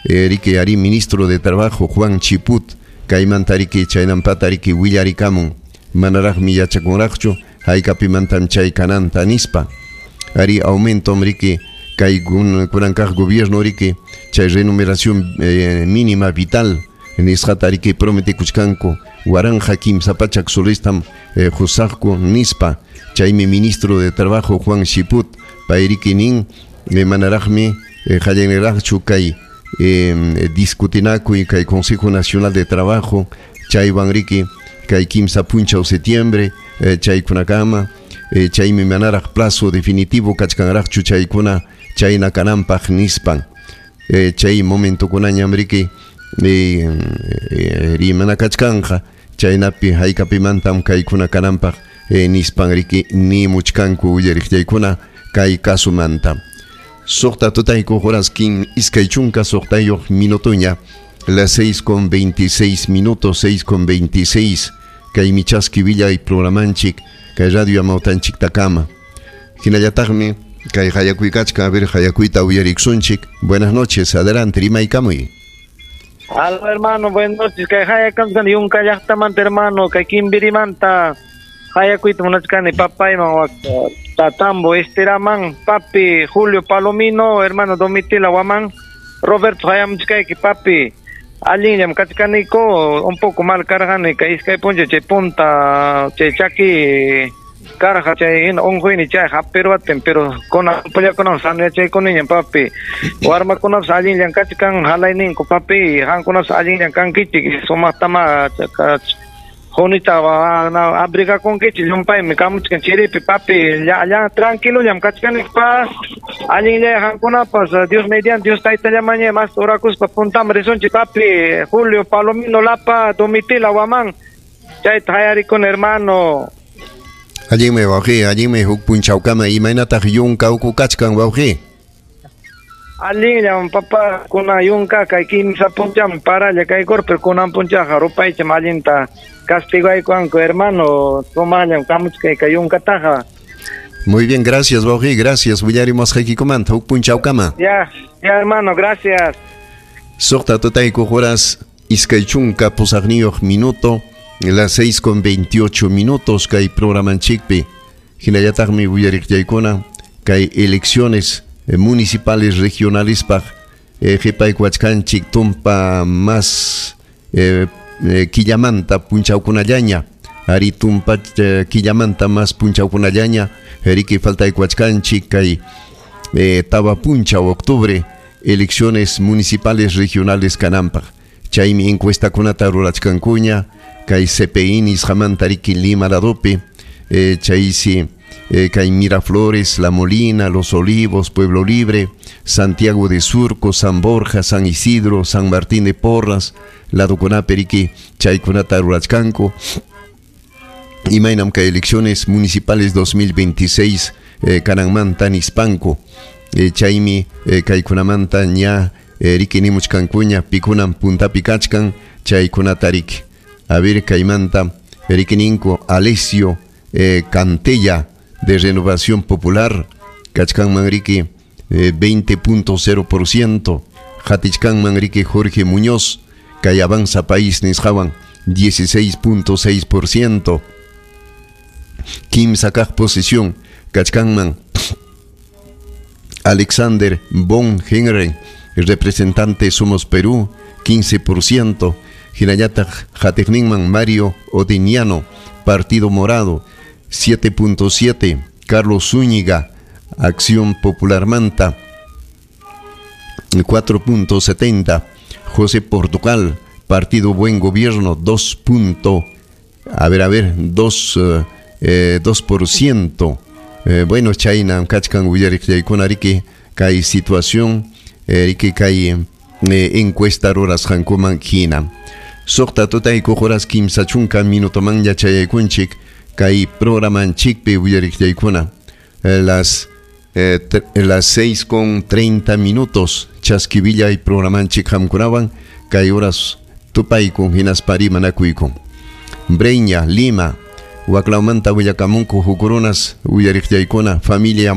Riki ari ministro de Trabajo Juan Chiput kaymanta riki chaynampata riki willarikamun manaraqmi yachakunraqchu haykapimantam chay kananta nispa. Ari aumento riki kay kunankaq gobierno riki chay remuneración mínima vital nisqata riki prometekuchkanku 1300 solestam qusaqku nispa. Chaymi ministro de Trabajo Juan Chiput pay riki nin manaraqmi qallaniraqchu kay discutinakuy kay Consejo Nacional de Trabajo chaywan riki kay 3 punchaw septiembre chaykunakama chaymi manaraq plazo definitivo kachkanraqchu chaykuna chayna kananpaq nispan. Chay momentokunañam riki rimana kachkanja chaynapi haykapimantam kaykuna kananpaq nispan riki nimuchkanku uyariqllaykuna kay kasumanta. 6 tutayku horas 26 minutoña, las 6:26 minutos, 6:26, kay michaski villay programanchik kay radio amawtanchik takama. Hinallataqmi kay hayakuykachka, a ver hayakuyta uyariksunchik. Buenas noches, adelante, rimaykamuy. Aló, hermano, buenas noches. Kay hayakamsan yunka llaqtamanta, hermano, kay Kimbirimanta hayakuyta munachkani papayman Tatambo, Esteraman, papi Julio Palomino, hermano Domitila Guamán, Roberto hayamuchkayki, papi. Allinllam kachkaniko, un poco mal karqani, kay iskay puncha chay punta, chay chaki karqa, chay hina unquyni chay hapirwatin, pero kuna apoyakunawan sanuyachaykunañam, papi. Warmakunapas allinllam kachkan, halayninku, papi, qamkunapas allinllam kankichik, sumaqtama junita abrigakunkichik, llumpaymi kamuchkan chiripi, papi, ya tranquilollam kachkanikpa, allinllay qamkunapas, Dios mediante, Dios taytallamaña más orakuspa puntaman risunchik, papi. Julio Palomino Lapa, Domitila Guamán, chayta hayarikuna, hermano. Allinmi wawqi, allinmi huk punchawkama. Imaynataq yunka uku kachkan, wawqi? Allinllam, papa, kuna yunka kay 3 puncham paralla kaykur, pero kunan punchaqa rupaycham allinta castigaykuanku, hermano, sumallam kamuchkay kay yunkataqa. Muy bien, gracias, wawqi, gracias. Willarimusqaykikumanta huk punchawkama. Ya, ya, hermano, gracias. 6 tutayku horas 28 minuto, las 6:28 minutos kay programanchikpi. Hinallataqmi willariqllaykuna kay elecciones municipales regionales paq qhipaykuachkanchik tumpa más killamanta punchawkunallaña. Ari tumpa killamanta más punchawkunallaña riki faltaykuachkanchik kay tawa punchaw octubre elecciones municipales regionales kananpaq. Chaymi encuestakunata rurachkankuña kay CPI nisqamanta riki Lima ladopi, chaysi kay Miraflores, La Molina, Los Olivos, Pueblo Libre, Santiago de Surco, San Borja, San Isidro, San Martín de Porras, ladokunapi riki chaykunata rurachkanku. Imaynam kay elecciones municipales 2026 kananmanta nispanku. Chaymi kaykunamanta ña riki nimuchkankuña pikunam puntapi kachkan chaykunata riki. A ver, kaymanta riki ninku Alessio Cantella de Renovación Popular, kachkanman riki 20.0%, Hatichkanman riki Jorge Muñoz, kay Avanza País nisqawan 16.6%, kimsa kaq posición kachkanman Alexander Von Henry, representante Somos Perú, 15%, hinallataq hatiqninman Mario Odiniano, Partido Morado, 7.7, Carlos Zúñiga, Acción Popular Manta, 4.70, José Portugal, Partido Buen Gobierno, 2 punto, a ver, a ver, 2, 2%. Bueno, chayna kachkan willariqllaykuna riki kay situación, riki kay encuesta rurasqankuman hina. 6 tutayku horas 30 minutoman yachayaykunchik kay programanchikpi willariqllaykuna. Las 6:30 minutos chaskivillay programanchik qamkunawan kay horas tupaykun hinaspa rimanakuykun. Breña, Lima, waklawmanta willakamunku huk runas willariqllaykuna familia